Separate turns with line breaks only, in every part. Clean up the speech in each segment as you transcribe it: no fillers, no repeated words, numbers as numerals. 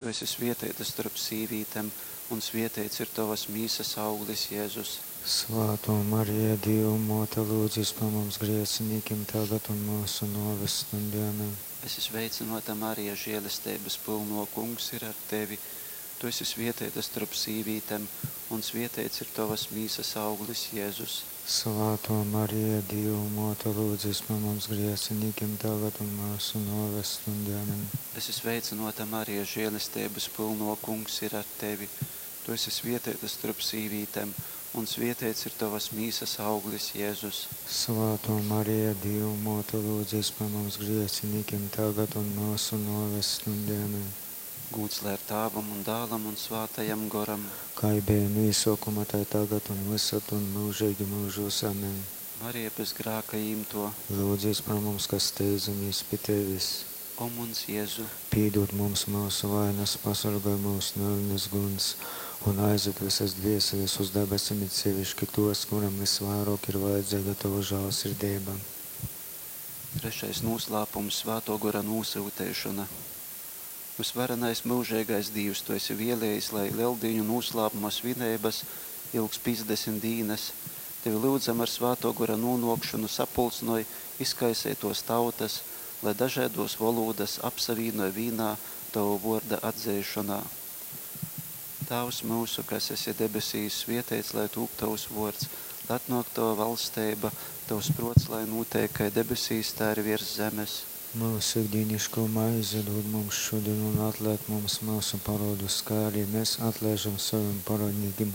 Tu esi svieteita storp sīvītem, un svieteits ir tovas mīsas auglis, Jēzus.
Svātō Marija, Dīva Mōte, lūdzis par mums grēcinīkim, tagad un myusu nōves stundē. Amen.
Esi sveicynōta, Marija, žēlesteibas pylnō, Kungs ir ar tevi. Tu esi svieteita storp sīvītem, un svieteits ir tovas mīsas auglis, Jēzus.
Svātō Marija, Dīva Mōte, lūdzis par mums grēcinīkim, tagad un myusu nōves stundē. Amen.
Esi sveicynōta, Marija, žēlesteibas pylnō, Kungs ir ar tevi. Tu esi svieteita storp sīvītem, un svieteits ir tovas mīsas auglis, Jēzus.
Svātō Marija, Dīva Mōte, lūdzis par mums grēcinīkim, tagad un myusu nōves stundē. Amen.
Gūds lai ir Tāvam un Dālam un Svātajam Goram.
Kai beja nu īsōkuma, tai tagad un vysod un myužeigi myužūs. Amen.
Marija bez grāka īmto.
Lūdzīs par mums, kas steidzamies pi Tevis.
O muns Jēzu!
Pīdūd mums myusu vainas, pasorgoj myus nu eļnes guņs un aizved vysas dvēseles uz dabasim, it seviški tos, kuram vysvairōk ir vajadzeiga Tova žālsirdeiba.
Trešais nūslāpums – Svātō Gora nūsyuteišona. Vysvarenais myužeigais Dīvs, Tu esi vēlējis, lai Leldīņu nūslāpuma svineibas ilgs 50 dīnas. Tevi lyudzam ar Svātō Gora nūnōkšonu sapulcynoj izkaiseitōs tautas, lai dažaidōs volūdas apsavīnoj vīnā Tova vōrda atzeišonā. Tāvs myusu, kas esi debesīs, svieteits lai tūp Tovs vōrds, lai atnōk Tova valsteiba, Tovs prōts lai nūteik kai debesīs, tai arī viers zemes.
Myusu ikdīniškō maize dūd mums šodien un atlaid mums myusu parōdus, kai arī mēs atlaižam sovim parōdnīkim,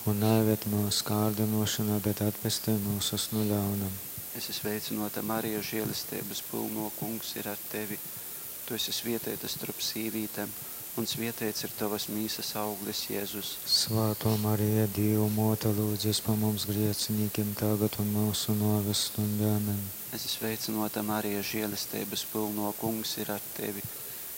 un naieved myusu kārdynōšanā, bet atpestej myusus nu ļauna.
Esi sveicynōta, Marija, žēlesteibas pylnō, Kungs ir ar tevi. Tu esi svieteita storp sīvītem, un svieteits ir tovas mīsas auglis, Jēzus.
Svātō Marija, Dīva Mōte, lūdzis par mums grēcinīkim, tagad un myusu nōves stundē. Amen.
Esi sveicynōta, Marija, žēlesteibas pylnō, Kungs ir ar tevi.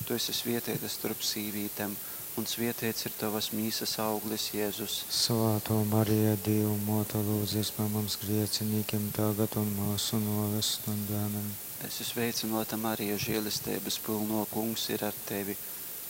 Tu esi svieteita storp sīvītem, un svieteits ir tovas mīsas auglis, Jēzus.
Svātō Marija, Dīva Mōte, lūdzis par mums grēcinīkim, tagad un myusu nōves stundē. Amen.
Esi sveicynōta, Marija, žēlesteibas pylnō, Kungs ir ar tevi.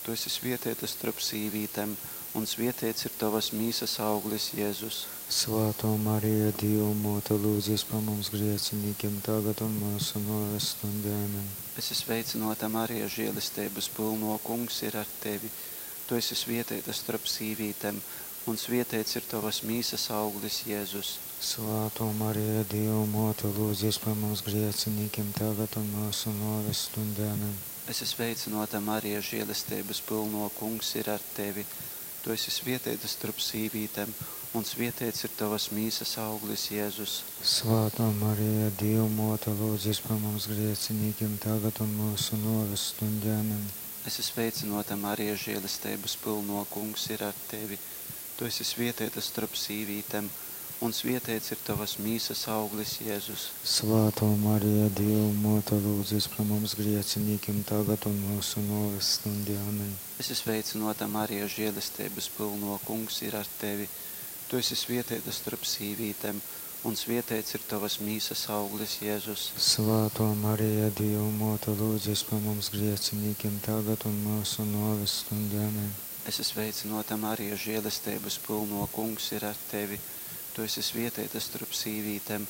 Tu esi svieteita storp sīvītem, un svieteits ir tovas mīsas auglis, Jēzus.
Svātō Marija, Dīva Mōte, lūdzis par mums grēcinīkim, tagad un myusu nōves stundē. Amen.
Esi sveicynōta, Marija, žēlesteibas pylnō, Kungs ir ar tevi. Tu esi svieteita storp sīvītem, un svieteits ir tovas mīsas auglis, Jēzus.
Svātō Marija, Dīva Mōte, lūdzis par mums grēcinīkim, tagad un myusu nōves stundē. Amen.
Esi sveicynōta, Marija, žēlesteibas pylnō, Kungs ir ar tevi. Tu esi svieteita storp sīvītem, un svieteits ir tovas mīsas auglis, Jēzus.
Svātō Marija, Dīva Mōte, lūdzis par mums grēcinīkim, tagad un myusu nōves stundē. Amen.
Esi sveicynōta, Marija, žēlesteibas pylnō, Kungs ir ar tevi. Tu esi svieteita storp sīvītem, un svieteits ir tovas mīsas auglis, Jēzus.
Svātō Marija, Dīva Mōte, lūdzis par mums grēcinīkim, tagad un myusu nōves stundē. Amen.
Esi sveicynōta, Marija, žēlesteibas pylnō, Kungs ir ar tevi. Tu esi svieteita storp sīvītem, un svieteits ir tovas mīsas auglis, Jēzus.
Svātō Marija, Dīva Mōte, lūdzis par mums grēcinīkim, tagad un myusu nōves stundē. Amen.
Esi sveicynōta, Marija, žēlesteibas pylnō, Kungs ir ar tevi. Tu esi svieteita storp sīvītem,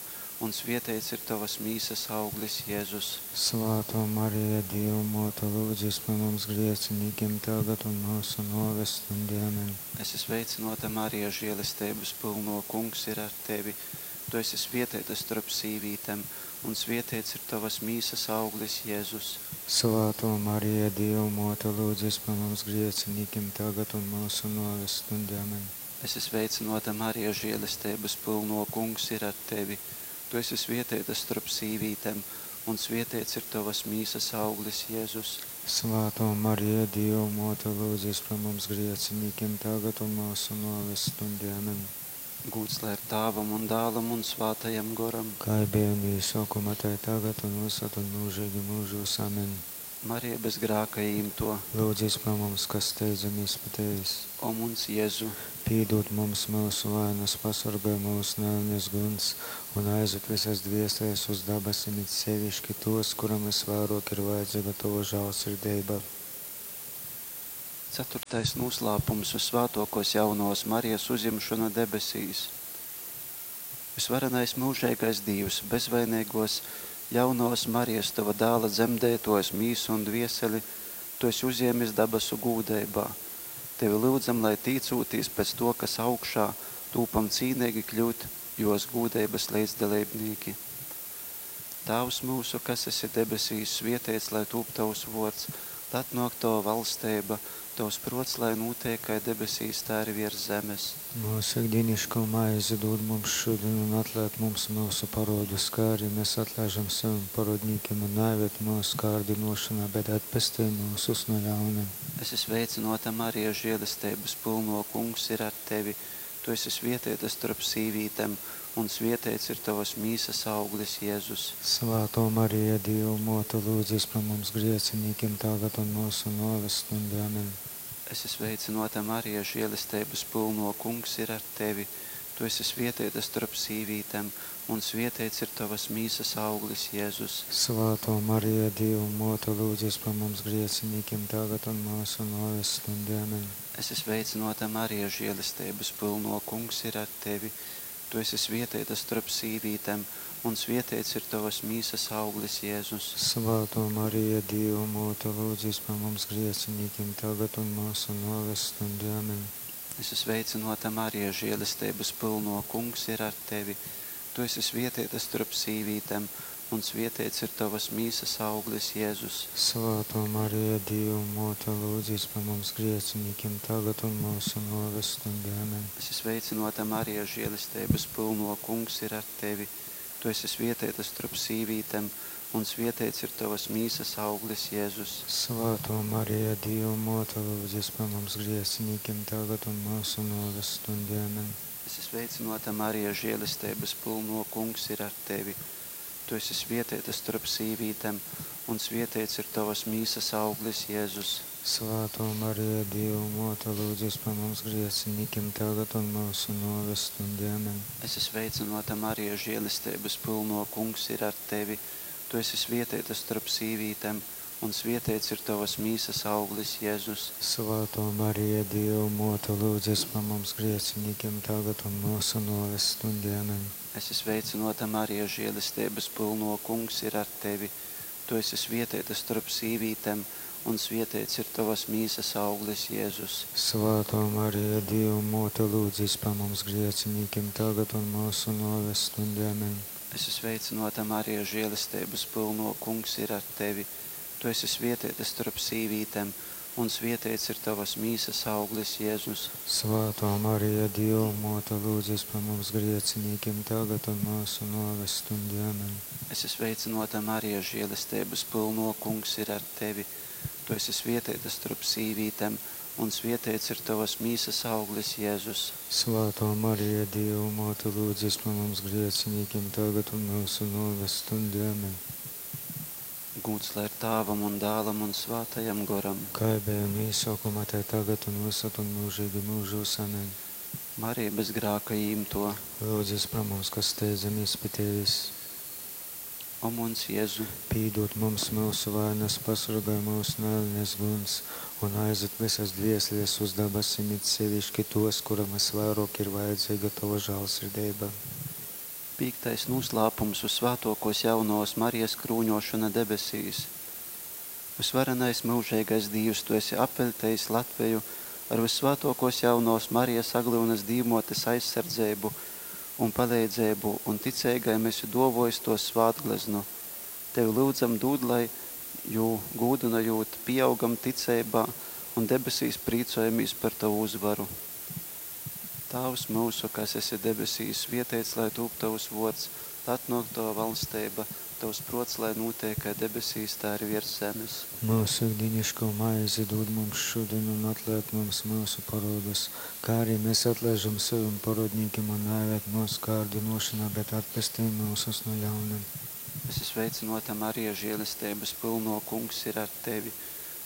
un svieteits ir tovas mīsas auglis, Jēzus.
Svātō Marija, Dīva Mōte, lūdzis par mums grēcinīkim, tagad un myusu nōves stundē. Amen.
Esi sveicynōta, Marija, žēlesteibas pylnō, Kungs ir ar tevi. Tu esi svieteita storp sīvītem, un svieteits ir tovas mīsas auglis, Jēzus.
Svātō Marija, Dīva Mōte, lūdzis par mums grēcinīkim, tagad un myusu nōves stundē. Amen.
Esi sveicynōta, Marija, žēlesteibas pylnō, Kungs ir ar tevi. Tu esi svieteita storp sīvītem, un svieteits ir tovas mīsas auglis, Jēzus.
Svātō Marija, Dīva Mōte, lūdzis par mums grēcinīkim, tagad un myusu nōves stundē. Amen.
Gūds lai ir Tāvam un Dālam un Svātajam Goram.
Kai beja nu īsōkuma, tai tagad un vysod un myužeigi myužūs. Amen.
Marija bez grāka īmto.
Lūdzis par mums, kas steidzamies pi Tevis.
O muns Jēzu!
Pīdūd mums myusu vainas, pasorgoj myus nu eļnes guņs un aizved vysas dvēseles uz dabasim, it seviški tos, kuram vysvairōk ir vajadzeiga Tova žālsirdeiba.
Ceturtais noslēpums – Visvētākās jaunavas Marijas uzjemšana debesīs. Visvarenais mūžīgais Dievs, bezvainīgos jaunavas Marijas, tava dēla dzemdētojas mīsu un dvieseli, tu esi uzjēmis dabasu gūdeibā. Tevi lūdzam, lai tīcūtīs pēc to, kas augšā, tūpam cīnīgi kļūt jos gūdeibas līdzdalībnieki. Tēvs mūsu, kas esi debesīs, svietēts, lai tūp tavs vārds, lai atnāk tava valstība, tavs prots, lai notiek kā debesīs, tā arī virs zemes.
Mūsu ikdienišķo maizi dod mums šodien un atlaid mums mūsu parodus, kā arī mēs atlaižam saviem parodnīkiem un neieved mūsu kārdinošanā, bet atpestī mūsus no ļauna.
Es esmu sveicināta Marija, žēlestības pilno kungs ir ar tevi. Tu esi svietēta starp sīvītēm, un svietēts ir tavas mīsas auglis, Jēzus.
Svētā Marija, Dieva mote, lūdzies par mums grēciniekiem tagad un mūsu nāves stundā. Amen.
Es esmu sveicināta Marija, žēlestības pilno kungs ir ar tevi. Tu esi svietēta starp sīvītēm, un svietēts ir tavas mīsas auglis, Jēzus.
Svētā Marija, Dieva mote, lūdzies par mums grēciniekiem tagad un mūsu nāves stundā. Amen.
Es esmu sveicināta Marija, žēlestības pilno kungs ir ar tevi. Tu esi svietēta starp sīvītēm, un svietēts ir tavas mīsas auglis, Jēzus.
Svētā Marija, Dieva mote, lūdzies par mums grēciniekiem tagad un mūsu nāves stundā. Amen.
Es esmu sveicināta Marija, žēlestības pilno kungs ir ar tevi. Tu esi svietēta starp sīvītēm, un svietēts ir tavas mīsas auglis, Jēzus.
Svētā Marija, Dieva mote, lūdzies par mums grēciniekiem tagad un mūsu nāves stundā. Amen.
Es esmu sveicināta Marija, žēlestības pilno kungs ir ar tevi. Tu esi svietēta starp sīvītēm, un svietēts ir tavas mīsas auglis, Jēzus.
Svētā Marija, Dieva mote, lūdzies par mums grēciniekiem tagad un mūsu nāves stundā. Amen.
Es esmu sveicināta Marija, žēlestības pilno kungs ir ar tevi. Tu esi svietēta starp sīvītēm, un svietēts ir tavas mīsas auglis, Jēzus.
Svētā Marija, Dieva mote, lūdzies par mums grēciniekiem tagad un mūsu nāves stundā. Amen.
Es esmu sveicināta Marija, žēlestības pilno kungs ir ar tevi. Tu esi svietēta starp sīvītēm, un svietēts ir tavas mīsas auglis, Jēzus.
Svētā Marija, Dieva mote, lūdzies par mums grēciniekiem tagad un mūsu nāves stundā. Amen.
Es esmu sveicināta Marija, žēlestības pilno kungs ir ar tevi. Tu esi svietēta starp sīvītēm, un svietēts ir tavas mīsas auglis, Jēzus.
Svētā Marija, Dieva mote, lūdzies par mums grēciniekiem tagad un mūsu nāves stundā. Amen.
Es esmu sveicināta Marija, žēlestības pilno kungs ir ar tevi. Tu esi svietēta starp sīvītēm, un svietēts ir tavas mīsas auglis, Jēzus.
Svētā Marija, Dieva mote, lūdzies par mums grēciniekiem tagad un mūsu nāves stundā. Amen.
Es esmu sveicināta Marija, žēlestības pilno kungs ir ar tevi. Tu esi svietēta starp sīvītēm, un svietēts ir tavas mīsas auglis, Jēzus.
Svētā Marija, Dieva mote, lūdzies par mums grēciniekiem tagad un mūsu nāves stundā. Amen.
Gūts lai ir Tēvam un Dēlam un Svētajam Goram.
Kā bija no iesākuma, tā tagad un visad un mūžīgi mūžos. Amen.
Marija bez grāka īmto.
Lūdzies par mums, kas steidzamies pie tevis.
O mums Jēzu,
Pīdot mums mūsu vainas, pasargāj mūs no elnes guns un aizved visas dvēseles uz dabasim, it sevišķi tos, kuram visvairāk ir vajadzīga tava žēlsirdība.
Piektais noslēpums uz svētokos jaunās Marijas krūņošana debesīs. Visvarenais mūžīgais Dievs, tu esi apveļtējis Latviju ar visvētokos jaunās Marijas Aglyunas dīvmotes aizsardzību un palīdzību, un ticīgajiem esi dovojis to svētgleznu. Tevi lūdzam dod, lai jū gūdinojot pieaugam ticībā un debesīs prīcojamies par tavu uzvaru. Tēvs mūsu, kas esi debesīs, svietēts, lai tūp tavs vārds, lai atnāk tava valstība, tavs prots, lai notiek kā debesīs, tā arī virs zemes.
Mūsu ikdienišķo maizi dod mums šodien un atlaid mums mūsu parodus, kā arī mēs atlaižam saviem parodnīkiem un neieved mūsu kārdinošanā, bet atpestī mūsus no ļauna.
Es esmu sveicināta Marija, žēlestības pilno kungs ir ar tevi.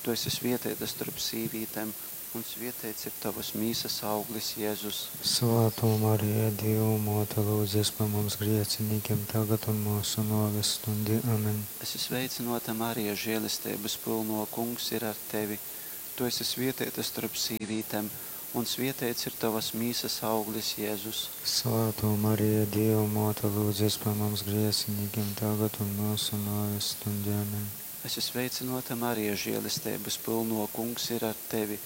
Tu esi svietēta starp sīvītēm, un svietēts ir tavas mīsas auglis, Jēzus.
Svētā Marija, Dieva mote, lūdzies par mums grēciniekiem tagad un mūsu nāves stundī. Amen.
Es esmu sveicināta Marija, žēlestības pilno kungs ir ar tevi. Tu esi svietēta storp sīvītēm, un svietēts ir tavas mīsas auglis, Jēzus.
Svātō Marija, Dieva Mōte, lūdzies par mums grēciniekiem, tagad un mūsu nāves stundē. Amen.
Esi sveicināta, Marija, žēlestības pilno, Kungs ir ar tevi.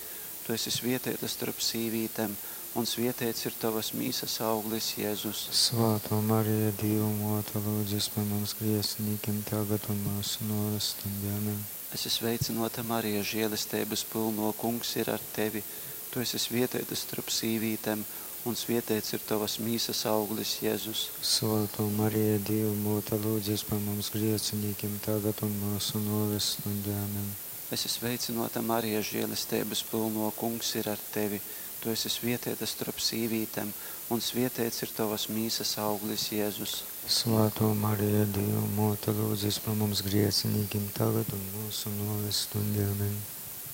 Tu esi svietēta starp sīvītēm, un svietēts ir tavas mīsas auglis, Jēzus.
Svātō Marija, Dieva Mōte, lūdzies par mums grēciniekiem, tagad un mūsu nāves stundē. Amen.
Esi sveicināta, Marija, žēlestības pilno, Kungs ir ar tevi. Tu esi svietēta starp sīvītēm, un svietēts ir tavas mīsas auglis, Jēzus.
Svātō Marija, Dieva Mōte, lūdzies par mums grēciniekiem, tagad un mūsu nāves stundē. Amen.
Esi sveicināta, Marija, žēlestības pilno, Kungs ir ar tevi. Tu esi svietēta starp sīvītēm, un svietēts ir tavas mīsas auglis, Jēzus.
Svātō Marija, Dieva Mōte, lūdzies par mums grēciniekiem, tagad un mūsu nāves stundē. Amen.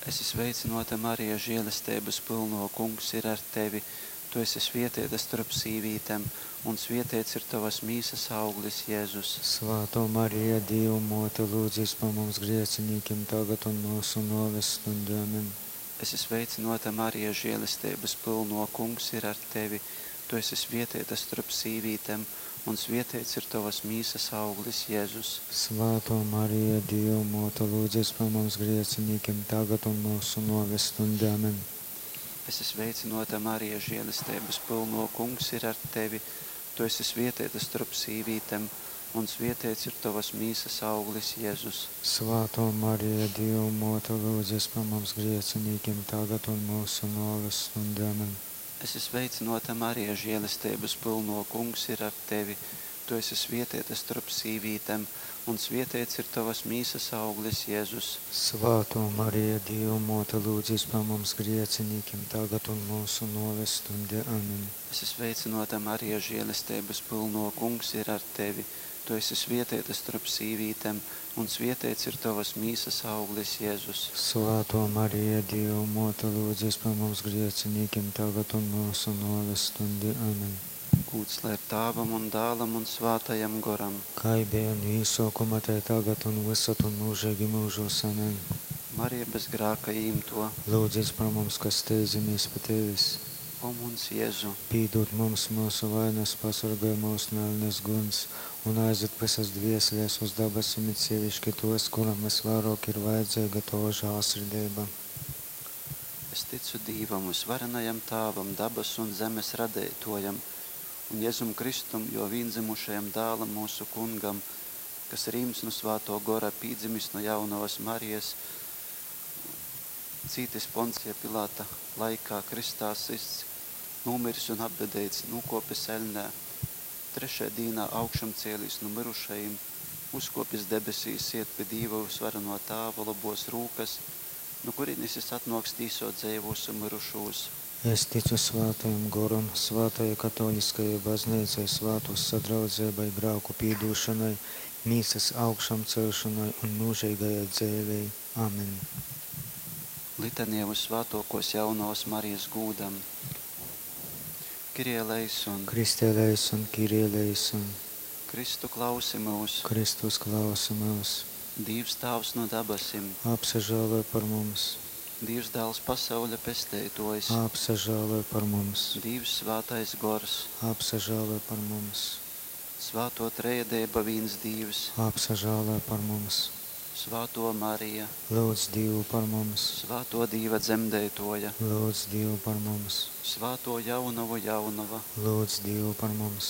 Esi sveicināta, Marija, žēlestības pilno, Kungs ir ar tevi. Tu esi svietēta starp sīvītēm, un svietēts ir tavas mīsas auglis, Jēzus.
Svātō Marija, Dieva Mōte, lūdzies par mums grēciniekiem, tagad un mūsu nāves stundē. Amen.
Esi sveicināta, Marija, žēlestības pilno, Kungs ir ar tevi. Tu esi svietēta starp sīvītēm, un svietēts ir tavas mīsas auglis, Jēzus.
Svātō Marija, Dieva Mōte, lūdzies par mums grēciniekiem, tagad un mūsu nāves stundē. Amen.
Esi sveicināta, Marija, žēlestības pilno, Kungs ir ar tevi. Tu esi svietēta starp sīvītēm, un svietēts ir tavas mīsas auglis, Jēzus.
Svātō Marija, Dieva Mōte, lūdzies par mums grēciniekiem, tagad un mūsu nāves stundē. Amen.
Esi sveicināta, Marija, žēlestības pilno, Kungs ir ar tevi. Tu esi svietēta starp sīvītēm, un svietēts ir tavas mīsas auglis, Jēzus.
Svātō Marija, Dieva Mōte, lūdzies par mums grēciniekiem, tagad un mūsu nāves stundē. Amen.
Esi sveicināta, Marija, žēlestības pilno, Kungs ir ar tevi. Tu esi svietēta starp sīvītēm, un svietēts ir tavas mīsas auglis, Jēzus.
Svātō Marija, Dieva Mōte, lūdzies par mums grēciniekiem, tagad un mūsu nāves stundē. Amen.
Gūds lai ir Tāvam un Dālam un Svātajam Goram.
Kā bija no īsākuma, tai tagad un visad un mūžīgi mūžos. Amen.
Marija bez grāka īmto.
Lūdzies par mums, kas steidzamies pie tevis.
O muns Jēzu,
Pīdod mums mūsu vainas, pasargāj mūs no elnes guns un aizved visas dvēseles uz dabasim, it sevišķi tos, kuram visvairāk ir vajadzīga tava žēlsirdība.
Es ticu Dīvam, visvarenajam Tāvam, dabas un zemes radētojam, un Jēzum Kristum, jo vīndzimušajam dālam mūsu kungam, kas rīms no svāto gora, pīdzimis no jaunavas Marijas, cītis Poncija Pilāta laikā, kristā sists, nūmiris un apbedēts, nūkopis eļnē, trešajā dīnā augšam cēlīs no mirušajiem, uzkopis debesīs, iet pie Dīva visvareno Tāva labos rūkas, no kurienes jis atnoks tīsot dzeivūs un mirušūs.
Es ticu svātajam goram, svātajai katoliskajai baznīcai, svātos sadraudzībai, grāku pīdūšanai, mīsas augšām celšanai un mūžīgajai dzēvei. Amen.
Litanija uz svētokos jaunavas Marijas gūdam. Kyrie eleison.
Christe eleison, Kyrie eleison.
Kristu klausi mūs.
Kristus klausi mūs.
Dīvs Tāvs no dabasim.
Apsažāloj par mums.
Dīvs Dēls pasauļa pesteitojs.
Apsažāloj par mums.
Dīvs Svētais Gors.
Apsažāloj par mums.
Svēto Trejadeiba vīns Dīvs.
Apsažāloj par mums.
Svāto Marija.
Lūdz Dievu par mums.
Svāto Dīva dzemdētoja.
Lūdz Dievu par mums.
Svāto jaunavu jaunava.
Lūdz Dievu par mums.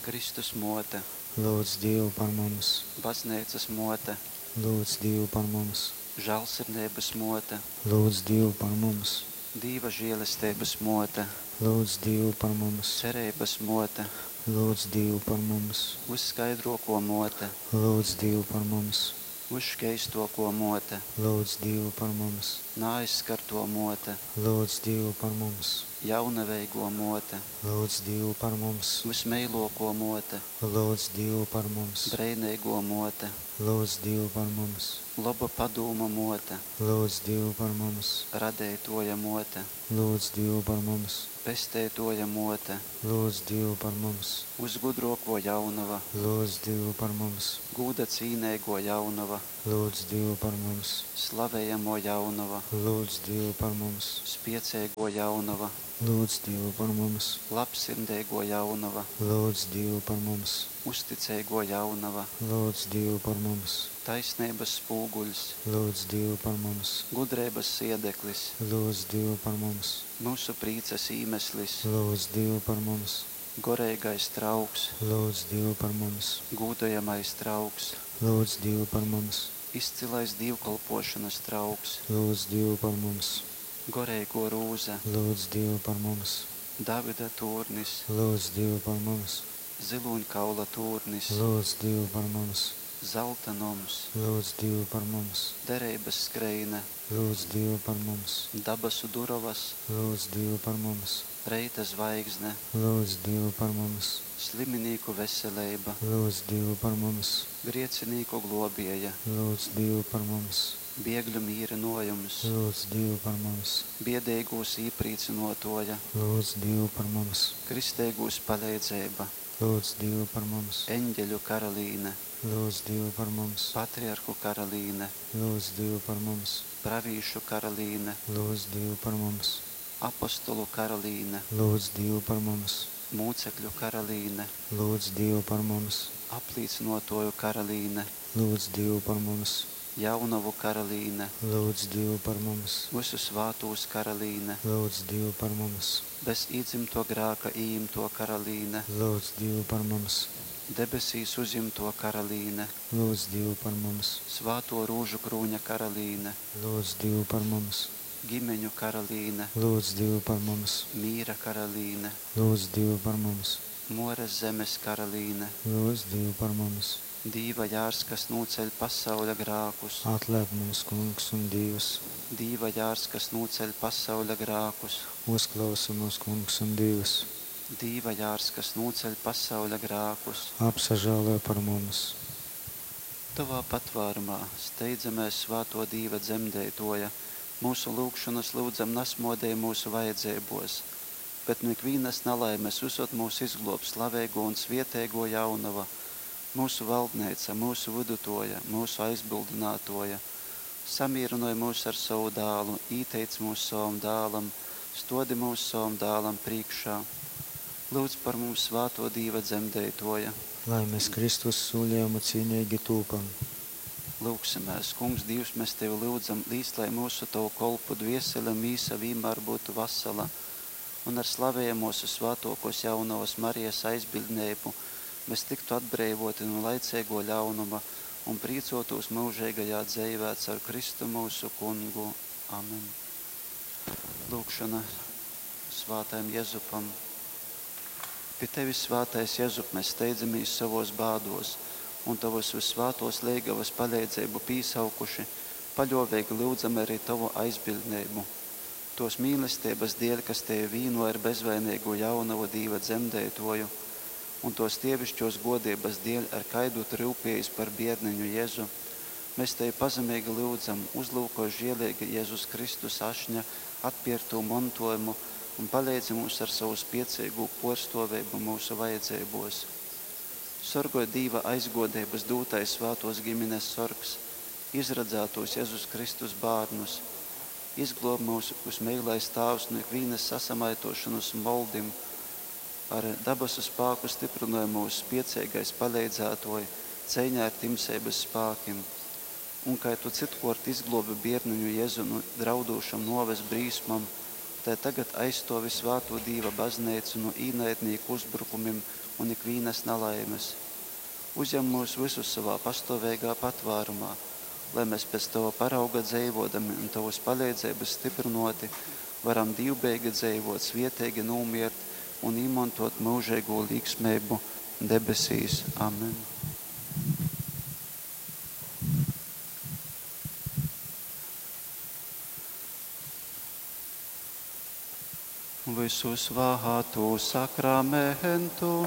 Kristus mote.
Lūdz Dievu par mums.
Baznīcas mote.
Lūdz Dievu par mums.
Žēlsirdības mote.
Lūdz Dievu par mums.
Dīva žēlestības mote.
Lūdz Dievu par mums.
Cerības mote.
Lūdz Dievu par mums.
Uzskaidroko mote.
Lūdz Dievu par mums.
Uzškeistoko mote.
Lūdz Dievu par mums.
Naaizskarto mote.
Lūdz Dievu par mums.
Jaunaveigo mote.
Lūdz Dievu par mums.
Vismeiloko mote.
Lūdz Dievu par mums.
Breineigo mote.
Lūdz Dievu par mums.
Laba padūma mote.
Lūdz Dievu par mums.
Radeitoja mote.
Lūdz Dievu par mums.
Pesteitoja mote.
Lūdz Dievu par mums.
Uzgudroko jaunava.
Lūdz Dievu par mums.
Gūda cīneigo jaunava.
Lūdz Dīvu par mums!
Slavejamo jaunova!
Lūdz Dīvu par mums!
Spieceigo jaunova!
Lūdz Dīvu par mums!
Labsirdeiguo jaunova!
Lūdz Dīvu par mums!
Uzticeigo jaunova!
Lūdz Dīvu par mums!
Taisneibas spūguļs!
Lūdz Dīvu par mums!
Gudreibas siedeklis!
Lūdz Dīvu par mums!
Myusu prīcas īmeslis!
Lūdz Dīvu par mums!
Goreigais trauks!
Lūdz Dīvu par mums!
Gūdojamais trauks!
Lūdz Dīvu par mums!
Izcylais dīvkolpōšonas trauks!
Lūdz Dīvu par mums!
Goreigō rūze!
Lūdz Dīvu par mums!
Davida tūrnis!
Lūdz Dīvu par mums!
Zylūņkaula tūrnis!
Lūdz Dīvu par mums!
Zalta noms!
Lūdz Dīvu par mums!
Dereibas skreine!
Lūdz Dīvu par mums!
Dabasu durovas!
Lūdz Dīvu par mums!
Reita zvaigzne!
Lūdz Dīvu par mums!
Sliminīku veseleiba!
Lūdz Dīvu par mums!
Griecinīku globieja!
Lūdz Dīvu par mums!
Biegļu mīrynojums!
Lūdz Dīvu par mums!
Biedeigūs īprīcynuotuoja!
Lūdz Dīvu par mums!
Kristeigūs paleidzeiba!
Lūdz Dīvu par mums!
Eņģeļu karalīne!
Lūdz Dīvu par mums!
Patriarhu karalīne!
Lūdz Dīvu par mums!
Pravīšu karalīne!
Lūdz Dīvu par mums!
Apostolu karalīne!
Lūdz Dīvu par mums!
Mūcekļu karalīne!
Lūdz Dīvu par mums!
Aplīcynuotuoju karalīne!
Lūdz Dīvu par mums!
Jaunovu karalīne!
Lūdz Dīvu par mums!
Vysu svātūs karalīne!
Lūdz Dīvu par mums!
Bez īdzymtuo grāka ījimtuo karalīne!
Lūdz Dīvu par mums!
Debesīs uzjimtuo karalīne!
Lūdz Dīvu par mums!
Svātuo rūžukrūņa karalīne!
Lūdz Dīvu par mums!
Gimeņu karalīne!
Lūdz Dīvu par mums!
Mīra karalīne!
Lūdz Dīvu par mums!
Muoras zemes karalīne!
Lūdz Dīvu par mums!
Dīva jārs, kas nūceļ pasauļa grākus!
Atlaid mums, Kungs un Dīvs!
Dīva jārs, kas nūceļ pasauļa grākus!
Uzklausi mūs, Kungs un Dīvs!
Dīva jārs, kas nūceļ pasauļa grākus!
Apsažāloj par mums!
Tovā patvārumā steidzamēs, svātō Dīva dzemdeitōja, myusu lyugšonas lyudzam nasmōdej myusu vajadzeibōs, bet nu ikvīnas nalaimes vysod myus izglōb slaveigō un svieteigō Jaunova, myusu valdneica, myusu vydutōja, myusu aizbyldynātōja. Samīrynoj myus ar sovu Dālu, īteic myus sovam Dālam, stōdi myus sovam Dālam prīškā. Lyudz par mums, svātō Dīva dzemdeitōja!
Lai mes Kristus sūlejumu cīneigi tūpam.
Lyugsimēs. Kungs, Dīvs, mes Tevi lyudzam, līc, lai myusu Tovu kolpu dviesele un mīsa vīnmār byutu vasala, un ar slavejamōs vyssvātōkōs Jaunovas Marijas aizbiļdneibu mes tyktu atbreivōti nu laiceigō ļaunuma un prīcōtūs myužeigajā dzeivē caur Kristu myusu Kungu. Amen. Lyugšona svātajam Jezupam. Pi Tevis, svātais Jezup, mes steidzamīs sovōs bādōs, un Tovas vyssvātōs leigavas paleidzeibu pīsaukuši, paļōveigi lyudzam ari Tovu aizbiļdneibu. Tōs mīlesteibas dēļ, kas Tevi vīnoj ar bezvaineigū jaunovu Dīva dzemdeitōju, un tōs dievišķōs gōdeibas dēļ, ar kaidu Tu ryupējīs par bierneņu Jezu, mes Tevi pazemeigi lyudzam, uzlyukoj žieleigi Jezus Kristus ašņa atpierktū montuojumu un paleidzi mums ar sovu spieceigū puorstuoveibu myusu vajadzeibuos. Sorgoj Dīva aizguodeibys dūtais svātuos gimines sorgs, izradzātūs Jezus Kristus bārnus. Izgluob myus, vysmeilais Tāvs, nu ikvīnys sasamaituošonys un moldim, ar dabasu spāku styprynoj myus, spieceigais paleidzātuoj, ceiņā ar timseibys spākim. Un kai Tu cytkuort izgluobi bierneņu Jezu nu draudūšom nuoves brīsmom, tai tagad aizstuovi svātū Dīva Bazneicu nu īnaidnīku uzbrukumim un ikvīnas nalaimes. Uzjam myus vysus sovā pastuoveigā patvārumā, lai mes pēc Tova parauga dzeivuodami un Tovys paleidzeibys styprynuoti varam dīvbeigi dzeivuot, svieteigi nūmiert un īmontuot myužeigū līksmeibu debesīs. Amen. Vysu svātū sakramentu.